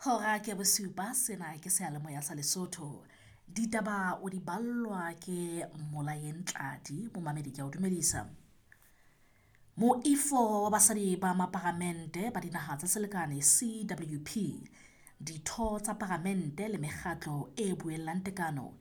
Hora ke bosupa, sena ke seyalemoya sa Lesotho. Ditaba o di ballwa ke Molaeng Tladi, momamedi ke a o dumedisa. Moifo wa basadi ba maparamente ba dinaha tsa selekane CWP, ditho tsa paramente le mekgatlo e buellang tekano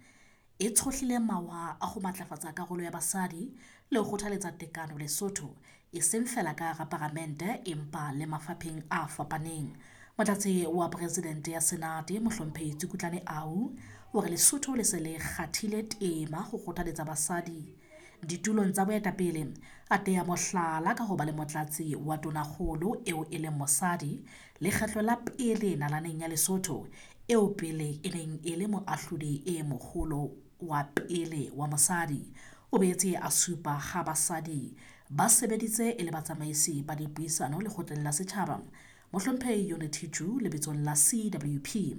e tshohlile mawa a ho matlafatsa karolo ya basadi le ho kgothaletsa tekano Lesotho, e seng feela ka hara paramente empa le mafapheng a fapaneng. Motlatsi wa Presidente ya Senate Mohlomphehi Tsukutlane Au o re Lesotho le se le kgathile tema ho kgothaletsa basadi ditulong tsa boetapele, a teya mohlala ka ho ba le motlatsi wa tonakgolo eo e leng mosadi lekgetlo la pele nalaneng ya Lesotho eo pele e neng e le moahlodi e moholo wa pele wa mosadi. O boetse a supa ha basadi ba sebeditse e le batsamaisi ba dipuisano lekgotleng la setjhaba. Mohlomphehi Unity Ju lebitsong la CWP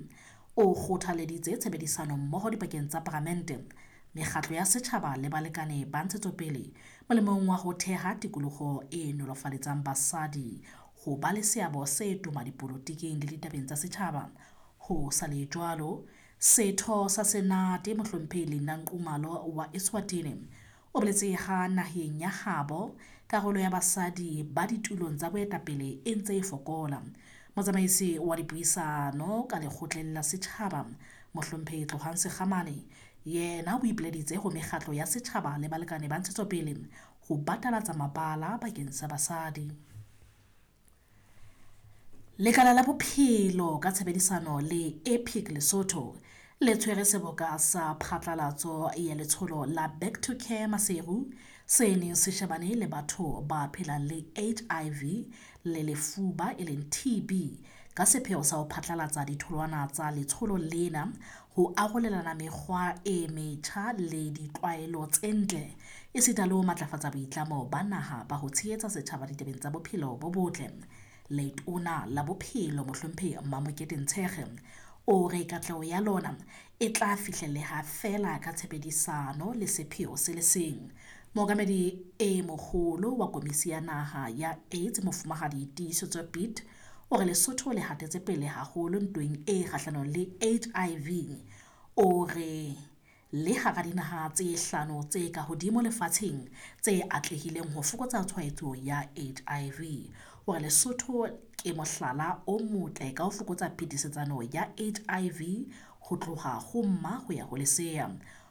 o kgothaleditse tshebedisano mmoho dipakeng tsa paramente, mekgatlo ya setjhaba le balekane ba ntshetsopele molemong wa ho theha tikoloho e nolofaletsang basadi ho ba le seabo se toma dipolotiking le ditabeng tsa setjhaba. Ho sa le jwalo, setho sa Senate Mohlomphehi Linda Nxumalo wa Eswatini o boletse ha naheng ya habo karolo ya basadi ba ditulong tsa boetapele e ntse e fokola. Motsamaisi wa dipuisano ka lekgotleng la setjhaba Mohlomphehi Tlohang Sekhamane yena o ipileditse ho mekgatlo ya setjhaba le balekane ba ntshetsopele ho batalatsa mabala bakeng sa basadi. Lekala la Bophelo ka tshebedisano le Epic Lesotho le tshwere seboka sa phatlalatso ya letsholo la Back to Care Maseru se neng se shebane le batho ba phelang le HIV le lefuba e leng TB ka sepheo sa ho phatlalatsa ditholwana tsa letsholo lena, ho arolelana mekgwa e metjha le ditlwaelo tse ntle esita le ho matlafatsa boitlamo ba naha ba ho tshehetsa setjhaba ditabeng tsa bophelo bo botle. Letona la Bophelo Mohlomphehi Mamokete Ntshekge o re katleho ya lona e tla fihlelleha feela ka tshebedisano le sepheo se le seng. Mookamedi e moholo wa Komisi ya Naha ya AIDS Mofumahadi Tiisetso Piet o re Lesotho le hatetse pele haholo ntweng e kgahlanong le HIV. O re le hara dinaha tse hlano tse ka hodimo lefatsheng tse atlehileng ho fokotsa tshwaetso ya HIV. O re Lesotho ke mohlala o motle ka ho fokotsa phetisetsano ya HIV ho tloha ho mma ho ya ho lesea.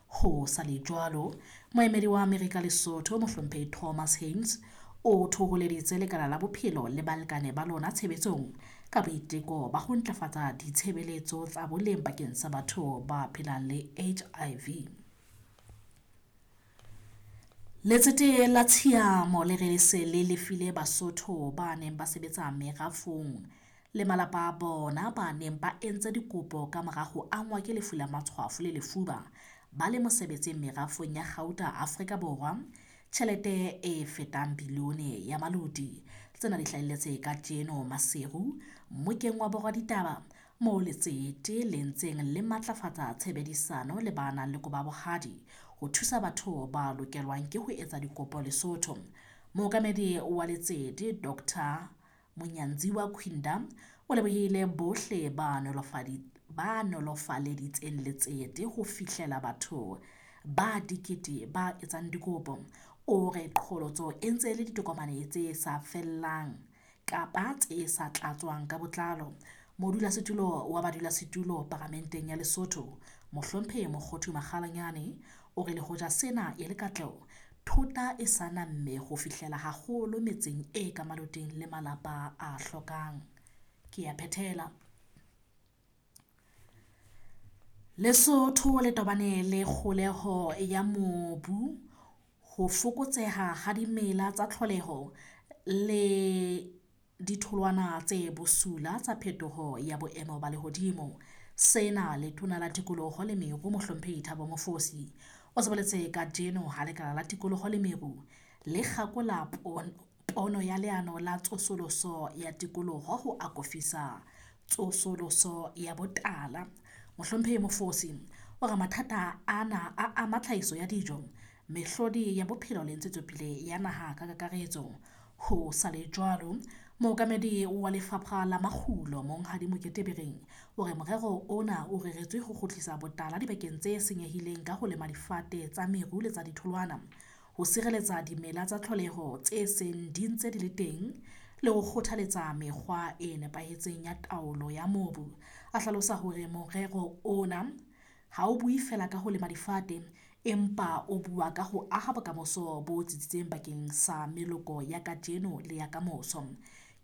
Ho sa le jwalo, moemedi wa Amerika Lesotho Mohlomphehi Thomas Haynes o thoholeditse lekala la bophelo le balekane ba lona tshebetsong ka boiteko ba ho ntlafatsa ditshebeletso tsa boleng bakeng sa batho ba phelang le HIV. Letsete la Tshiamo le re se le lefile Basotho ba neng ba sebetsa merafong le malapa a bona ba neng ba entse dikopo ka mora ho angwa ke lefu la matshwafo le lefuba ba le mosebetsing merafong ya kgauta Afrika Borwa tjhelete e fetang bilione ya maloti. Tsena di hlahelletse kajeno Maseru mmokeng wa borwa ditaba moo letsete le ntseng le matlafatsa tshebedisano le ba nang le koba bohadi ho thusa batho ba lokelwang ke ho etsa dikopo Lesotho. Mookamedi wa letsete Dr. Munyanziwa Kwinda o lebohile bohle ba nolofaleditseng letsete ho fihlela batho ba dikete ba etsang dikopo. O re qholotso e ntse le ditokomane tse sa fellang kapa tse sa tlatswang ka botlalo. Modulasetulo wa badulasetulo Paramenteng ya Lesotho Mohlomphehi Mokgothu Makgalanyane o re le hoja sena e le katleho, thota e sa namme ho fihlela haholo metseng e ka maloteng le malapa a hlokang. Ke a phethela. Lesotho le tobane le kgoholeho ya mobu, ho fokotseha ha dimela tsa tlholeho le ditholwana tse bosula tsa phetoho ya boemo ba lehodimo. Sena letona la tikoloho le meru Mohlomphehi Thabo Mofosi o se boletse kajeno ha lekala la tikoloho le meru le kgakola pono ya leano la tsosoloso ya tikoloho ho akofisa tsosoloso ya botala. Mohlomphehi Mofosi o re mathata ana a ama tlhahiso ya dijo, mehlodi ya bophelo le ntshetsopele ya naha ka kakaretso. Ho sa le jwalo, Mookamedi wa lefapha la makgulo Monghadi Mokete Bereng o re morero ona o reretswe ho kgutlisa botala dibakeng tse senyehileng ka ho lema difate tsa meru le tsa ditholwana, ho sireletsa dimela tsa tlholeho tse seng di ntse di le teng le ho kgothaletsa mekgwa e nepahetseng ya taolo ya mobu. A hlalosa hore morero ona ha o bue feela ka ho lema difate empa o bua ka ho aha bokamoso bo tsitsitseng bakeng sa meloko ya kajeno le ya kamoso.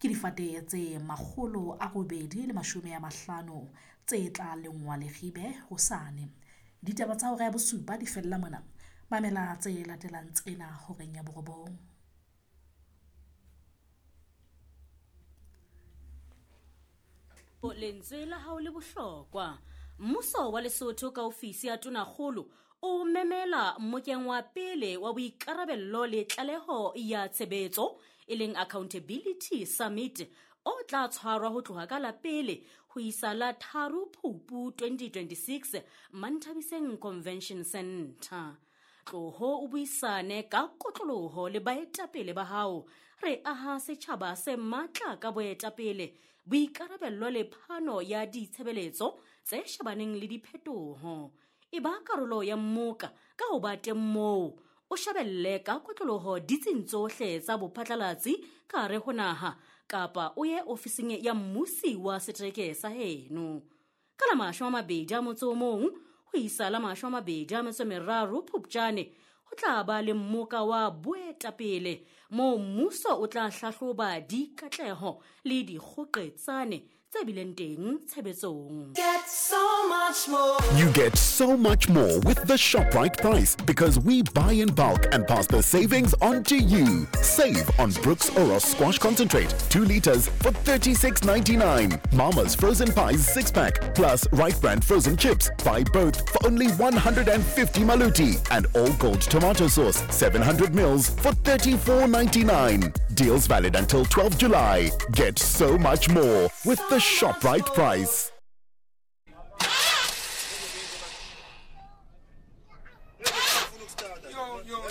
Ke difate tse 850 tse tla lengwa Leribe hosane. Ditaba tsa hora ya bosupa di fella mona. Mamela tse latelang tsena horeng ya borobong. Lentswe la hao le bohlokwa. Mmuso wa Lesotho ka ofisi ya Tonakgolo o memela mmokeng wa pele wa boikarabello le tlaleho ya tshebetso e leng Accountability Summit o tla tshwarwa ho tloha ka la pele ho isa la 3 Phupu 2026 Manthabiseng Convention Center. Tloho o buisane ka kotloloho le baetapele ba hao. Re aha setjhaba se matla ka boetapele, boikarabello le phano ya ditshebeletso tse shebaneng le diphetoho. E ba karolo ya mmoka ka ho ba teng moo, o shebelle ka kotloloho ditsing tsohle tsa bophatlalatsi ka hare ho naha kapa o ye ofising ya mmusi wa setereke sa heno. Ka la 21 ho isa la 23 Phupjane ho tla ba le mmoka wa boetapele moo mmuso o tla hlahloba dikatleho le dikgoqetsane tse bileng teng tshebetsong. Get so much more. You get so much more with the ShopRite price because we buy in bulk and pass the savings on to you. Save on Brooks Oros Squash Concentrate, 2 liters for $36.99. Mama's Frozen Pies 6-pack plus Right Brand Frozen Chips. Buy both for only 150 maluti. And All Gold Tomato Sauce, 700 mils for $34.99. Deals valid until 12 July. Get so much more with the ShopRite price. Yo, yo.